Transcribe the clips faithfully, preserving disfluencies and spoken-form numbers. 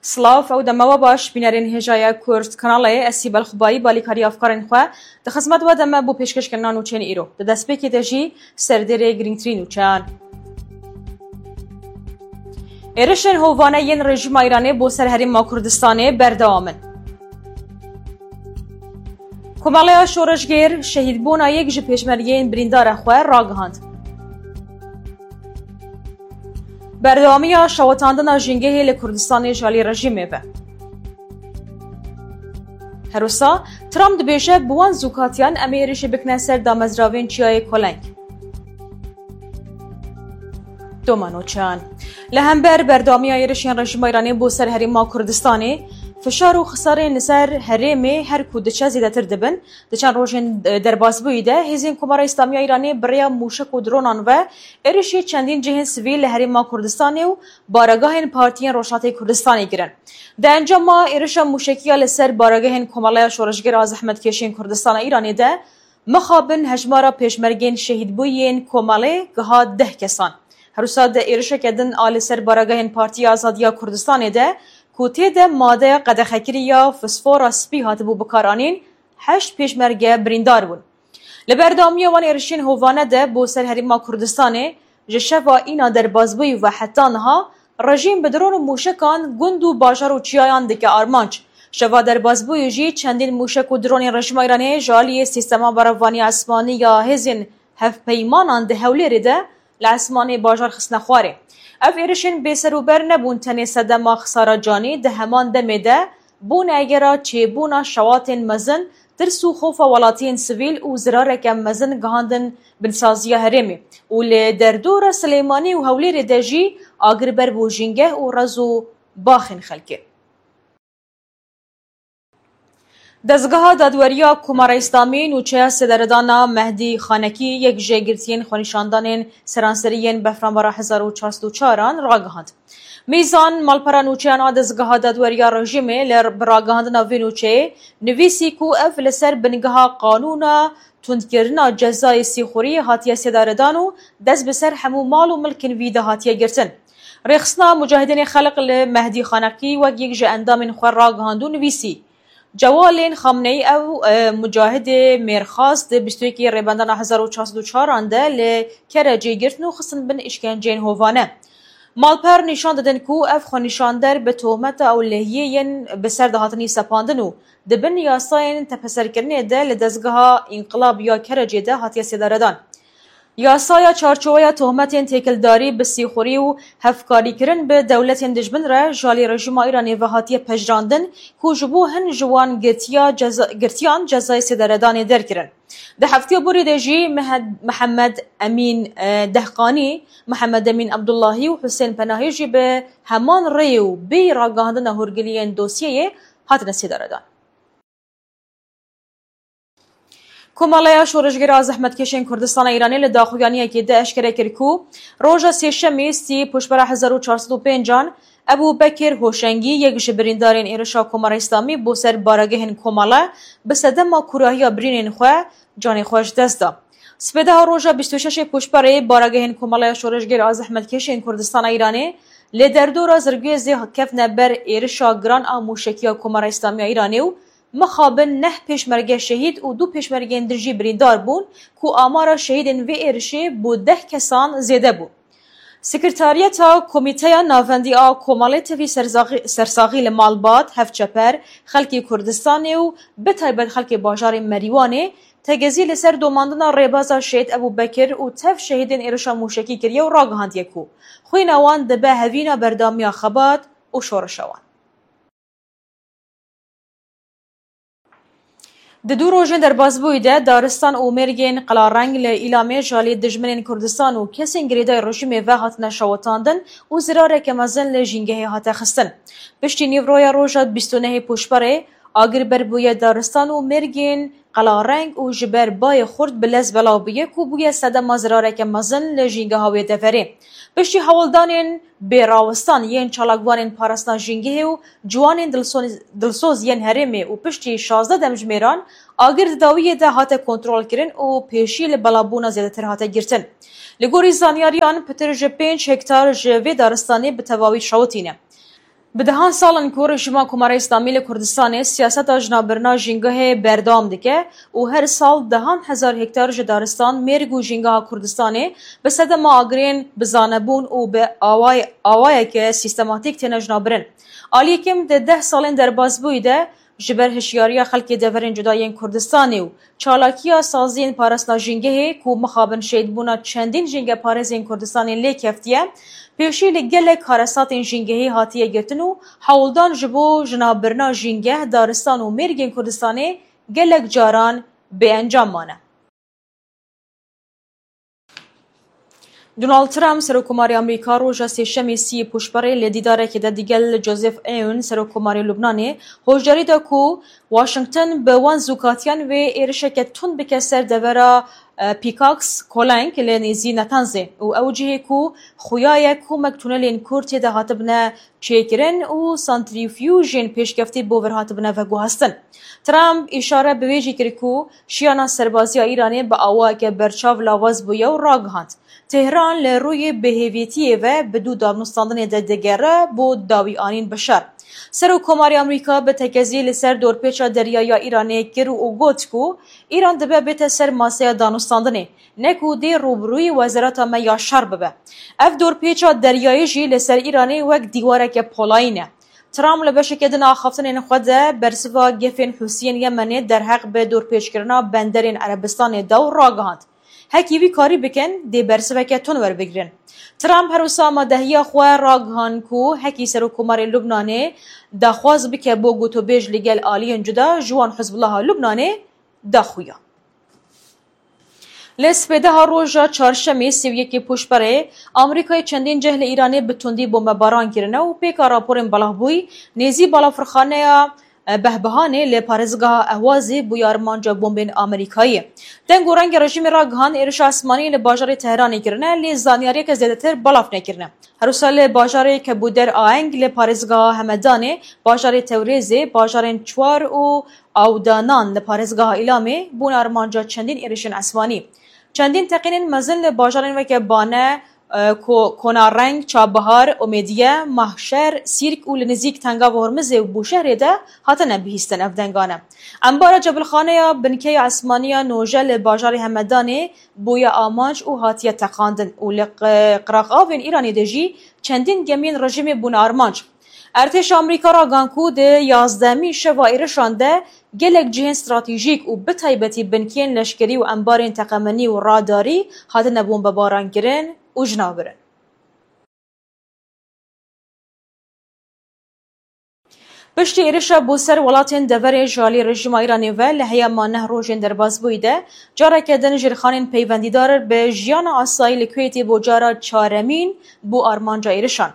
Silav, ew dema we baş, bînerên hêja ye Kurd Kanalê, ez Sîbel Xubayî, balîkarî afkarên xwe di xizmet we de me bo pêşkêşkirina nûçeyên îro. Di destpêkê de jî serdêrê girîngtirîn nûçeyan. Êrişên hovane yên rejîma Îranê bo ser herêma Kurdistanê berdewam in. Komeleya Şoreşgêr şehîdbûna yek ji pêşmergeyên birîndara xwe ragihand. Berdewamiya şewitandina jîngehê li Kurdistanê ji alî rejîmê ve. Her wisa Trump dibêje, bi wan zûkatiyan em ê êrişê bikine ser damezravên Çiyayê Koleng. Domanoçan. Li hember berdewamiya êrişên rejîma Îranê bo ser herêma Kurdistanê, fişar û xisarên li ser herêmê her ku diçe zêdetir dibin. Di çend rojên, e, derbasbûyî de hêzên Komara Îslamiya Îranê bi rêya mûşek û dronan ve êrişî çendîn cihên sivîl li herêma Kurdistanê û baregahên partiyên Rojhatê Kurdistanê kirin. Di encama êrişa mûşekî ya li ser baregehên Komeleya Şoreşgêr a Zehmetkêşên Kurdistana Îranê de, mixabin hejmara pêşmergên şehîdbûyên komelê giha deh kesan. Her wisa di êrişeke din a li ser baregehên Partiya Azadiya Kurdistanê de ku tê de madeya qedexekirî ya fosfora spî hatibû bikaranîn, heşt pêşmerge birîndar bûn. Li berdewamiya wan êrişên hovane de bo ser herêma Kurdistanê, ji şeva îna derbasbûyî ve heta niha, rejîm bi dron û mûşekan gund û bajar û çiyayan dike armanc. Şeva derbasbûyî jî çendîn mûşek û dronên rejîma Îranê ji aliyê sîstema berevaniya esmanî ya hêzên hevpeymanan di Hewlêrê de li esmanê bajar xistine xwarê. Ev êrişên bêserûber nebûn tenê sedema xisara canî, di heman demê de bûne egera çêbûna şewatên mezin, tirs û xofa welatiyên sivîl û zirareke mezin gihandin binsaziya herêmê û li derdora Silêmanî û Hewlêrê de jî agir ber bû jîngeh û rez û baxên xelkê. Dezgeha Dadweriya Komara Îslamî nûçeya sêdaredana Mehdî Xanekî, yek ji girtiyên xwenîşandanên seranserî yên Befranbara hezar û çar sed û çar an, ragihand. Mîzan, malpera nûçeyan a dezgeha dadweriya rejîmê li bi ragihandina vê nûçeyê nivîsî ku ev li ser bingeha qanûna tundkirina cezayê sîxuriyê hatiye sêdaredan û dest bi ser hemû mal û milkên vî de hatiye girtin. Rêxistina Mucahidînê Xelq li Mehdî Xaneqî wek yek ji endamên xwe ragihand û nivîsî, Cewalên Xamneyî ew, e, mucahidê mêrxas di bîst û yekê Rêbendana hezar û çar sed û çar an de li Kerecê girtin û xistin bin îşkenceyên hovane. Malper nîşan didin ku ev xwenîşander bi tohmeta ewlehiyê yên bi ser de hatinî sepandin û di bin yasayên tepeserkirinê de li dezgeha Înqilab ya Kerecê de hatiye sêdaredan. Yasaya çarçoweya tohmetên têkildarî bi sîxurî û hevkarîkirin bi dewletên dijmin re ji alî rejîma Îranê ve hatiye pejirandin ku ji bo hin ji wan girtiya ceza-, girtiyan cezayê sêdaredanê derkirin. Di heftiya borî de jî Mehed-, Mihemed Emîn, e, Dehqanî, Mihemed Emîn Abdullahî û Husên Penahî jî bi heman rêyê û bêyî ragihandina hûrgiliyên dosyeyê hatine sêdaredan. Komeleya Şoreşgera Zehmetkêşên Kurdistana Îranê li daxuyaniyekê de eşkere kir ku roja Sêşemê sî Pûşbera hezar û çar sed û pênc an Ebû Bekir Hoşengî, yek ji birîndarên êrişa Komara Îslamî bo ser baregehên Komele, bi sedema kûrahiya birînên xwe canê xwe ji dest da. Sibêdeha roja bîst û şeş ê Pûşberê, baregehên Komeleya Şoreşgêr a Zehmetkêşên Kurdistana Îranê li derdora Zirgwêzê ketine ber êrişa giran a mûşekî ya Komara Îslamî ya Îranê û mixabin neh pêşmerge şehîd û du pêşmergeyên din jî birîndar bûn ku amara şehîdên vê êrişê bo deh kesan zêde bû. Sekretariyeta Komîteya Navendî a Komelê tevî sersaxî-, sersaxî li malbat, hevçeper, xelkê Kurdistanê û bi taybet xelkê bajarê Merîwanê tegezî li ser domandina rêbaza Şehîd Ebû Bekir û tev şehîdên êrişa mûşekî kiriye û ragihandiye ku xwîna wan dibe hevîna berdewamiya xebat û şoreşa wan. Di du rojên derbasbûyî de daristan û mêrgên Qelareng li Îlamê ji alî dijminên Kurdistan û kesên girêdayî rejîmê ve hatine şewitandin û zirareke mezin li jîngehê hate xistin. Piştî nîvroya roja bîst û nehê Pûşberê, agir ber bûye daristan û mêrgên Qelareng û ji ber bayê xurt bi lez belav bûye ku bûye sedema zirareke mezin li jîngeha wê deverê. Piştî hewldanên bêrawistan yên çalakvanên parastina jîngehê û ciwanên dilso-, dilsoz yên herêmê û piştî şazdeh demjimêran, agir di dawiyê de hate kontrolkirin û pêşî li belavbûna zêdetir hate girtin. Li gorî zanyariyan, pitir ji pênc hektar ji vê daristanê bi tevawî şewitîne. Bi dehan sal in ku rejîma Komara Îslamî li Kurdistanê siyaseta jinavbirina jîngehê berdewam dike û her sal dehan hezar hektar ji daristan, mêrg û jîngeha Kurdistanê bi sedema agirên bi zanebûn û bi away-, awayeke sîstematîk têne jinavbirin. Aliyê kêm di deh salên derbasbûyî de ji ber hişyariya xelkê deverên cuda yên Kurdistanê û çalakiya saziyên parastina jîngehê ku mixabin şehîdbûna çendîn jîngeparêzên Kurdistanê lê keftiye, pêşî li gelek karesatên jîngehî hatiye girtin û hewldan ji bo jinavbirina jîngeh, daristan û mêrgên Kurdistanê gelek caran bêencam mane. Donald Trump, Serokkomarê Amerîka, roja Sêşemê sî Pûşberê li dîdarekê de digel Joseph Aoun, Serokkomarê Lubnanê, hoşdarî da ku Washington bi wan zûkatiyan wê êrişeke tund bike ser devera, e, Pickaxe Collang li nêzî Natanzê û ew cihê ku xuya ye komek tunelên kûr tê de hatibine çêkirin û santrîfûjên pêşkeftî bo vir hatibine veguhastin. Trump îşare bi wê jî kir ku şiyana serbazî ya Îranê bi awayeke berçav lawaz bûye û ragihand, Tehran li rûyê bêhêvîtiyê ve bi dû danûstandinê de digere bo dawîanîn bi şer. Serokkomarê Amerîka bi tekezî li ser dorpêça deryayî ya Îranê kir û got ku Îran dibe bête ser maseya danûstandinê, ne ku dê rûbirûyî wezareta me ya şer bibe. Ev dorpêça deryayî jî li ser Îranê wek dîwareke polayî ne. Trump li beşeke din a axaftinên xwe de bersiva gefên Hûsiyên Yemenê derheq bi dorpêçkirina benderên Erebistanê da û ragihand, hekî wî karî bikin, dê bersiveke tund werbigirin. Trump her wisa amadehiya xwe ragihand ku hekî Serokkomarê Lubnanê daxwaz bike bo gotûbêj li gel aliyên cuda ji wan Hizbullaha Lubnanê daxuya. Li spêdeha roja çarşemê sê û yekê Pûşberê, Amerîkayê çendîn cih li Îranê bi tundî bombebaran kirine û pêka raporên belavbûyî nêzî balafirxaneya, e, Behbehanê li parêzgeha Ehwazê bûye armanca bombên Amerîkayê. Deng û rengê rejîmê ragihand êrişa esmanî li bajarê Tehranê kirine, lê zanyariyeke zêdetir belav nekirine. Her wisa li bajarê Kebûder Aeng li parêzgeha Hemedanê, bajarê Tewrêzê, bajarên Çwar û Awdanan li parêzgeha Îlamê bûne armanca çendîn êrişên esmanî. Çendîn teqînên mezin li bajarên weke Bane, e, Ko-, Konareng, Çabihar, Omêdiye, Mahşer, Sîrk û li nizîk Tengava Hormizê û Bûşehrê de hatine bihîstin ev dengane. Embara cebilxaneya binkeya esmaniya Noje li bajarê Hemedanê bûye amanc û hatiye teqandin û li Q-, Qiraqavên Îranê de jî çendîn gemiyên rejîmê bûne armanc. Erdhêşa Amerîka ragihan ku di yazdehemîn şeva êrişan de gelek cihên stratejîk û bi taybetî binkeyên leşkerî û embarên teqemenî û radarî hatine bombebarankirin û jinavbirin. Piştî êrişa bo ser welatên deverê ji alî rejîma Îranê ve li heyama neh rojên derbasbûyî de, careke din jêrxanên peywendîdar bi jiyana asayî li Kuweytê bo cara çaremîn bû armanca êrişan.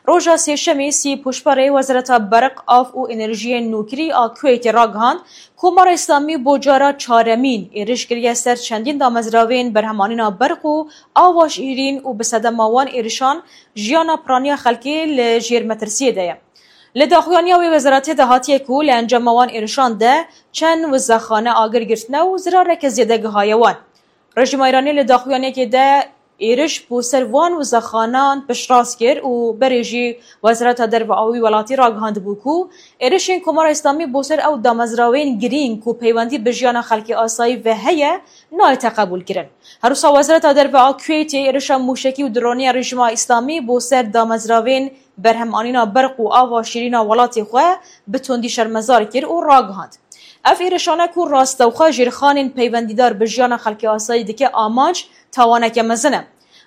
Roja Sêşemê sî Pûşberê Wezareta Berq, Av û Enerjiyên Nûkirî a Kuweytê ragihand, Komara Îslamî bo cara çaremîn êriş kiriye ser çendîn damezravên berhemanîna berq û ava şîrîn û bi sedema wan êrişan jiyana piraniya xelkê li jêr metirsiyê de ye. Li daxuyaniya wê wezaretê de hatiye ku li encama wan êrişan de çend wizexane agir girtine û zirareke zêde gihaye wan. Rejîma Îranê li daxuyaniyekê de êriş bo ser van wizexanan piştrast kir û berê jî Wezareta Derve a wî welatî ragihandibû ku êrişên Komara Îslamî bo ser ew damezrawên girîng ku peywendî bi jiyana xelkê asayî ve heye, nayête qebûlkirin. Her wisa Wezareta Derve a Kuweytê êrişa mûşekî û dronî ya Rejîma Îslamî bo ser damezravên berhemanîna berq û ava şîrîna welatê xwe bi tundî şermezar kir û ragihand, ev êrişane ku rastewxwe jêrxanên peywendîdar bi jiyana xelkê asayî dike amanc, tawaneke mezin e.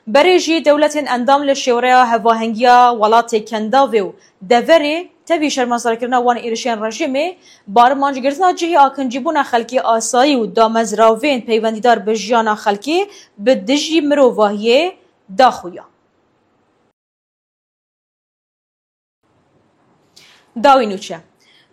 Berê jî dewletên endam li şêwreya hevahengiya welatê Kendavê û deverê tevî şermezarkirina wan êrişên rejîmê, bi armanc girtina cihê akincîbûna xelkê asayî û damezravên peywendîdar bi jiyana xelkê bi dijî mirovahiyê daxuya. Dawî nûçe.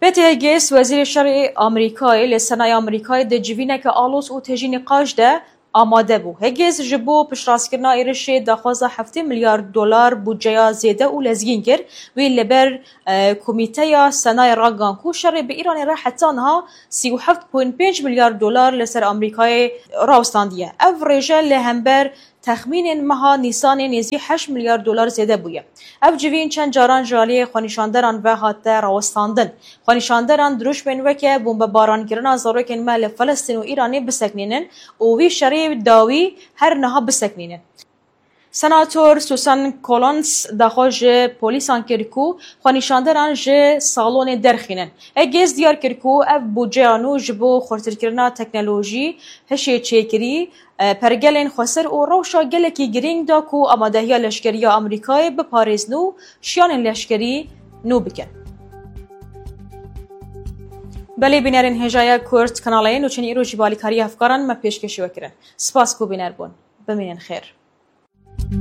Pete Higgins, Wezîrê Şerê Amerîkayê, li Senaya Amerîkayê di civîneke aloz û tejî nîqaş de amade bû. Higgins ji bo piştrastkirina êrişê daxwaza heftê milyar dolar budceya zêde û lezgîn kir. Wî li ber, e, Komîteya Senayê ragihan ku şerê bi Îranê re heta niha sî û heft point pênc milyar dolar li ser Amerîkayê rawstandiye. Ev rêje li hember texmînên meha Nîsanê nêzî heşt milyar dolar zêde bûye. Ev civîn çend caran ji aliyê xwenîşanderan ve hate rawestandin. Xwenîşanderan dirûşmên weke bombebarankirina zarokên me li Filistîn û Îranê biseknînin û wî şerê dawî her niha biseknînin. Senator Susan Collins daxwaz ji polîsan kir ku xwenîşanderan ji salonê derxînin. Higgins diyar kir ku ev budceya nû ji bo xurtirkirina teknolojî, hişê çêkirî, e, pergelên xwesir û rewşa gelekî girîng da ku amadehiya leşkerî ya Amerîkayê biparêzin û şiyanên leşkerî nû bikin. Belê bînerên hêjaya Kurd kanalê nûçeyên îro jî bi alîkariya hevkaran me pêşkêşî we kirin. Spas ku bîner bûn. Bimînin xêr.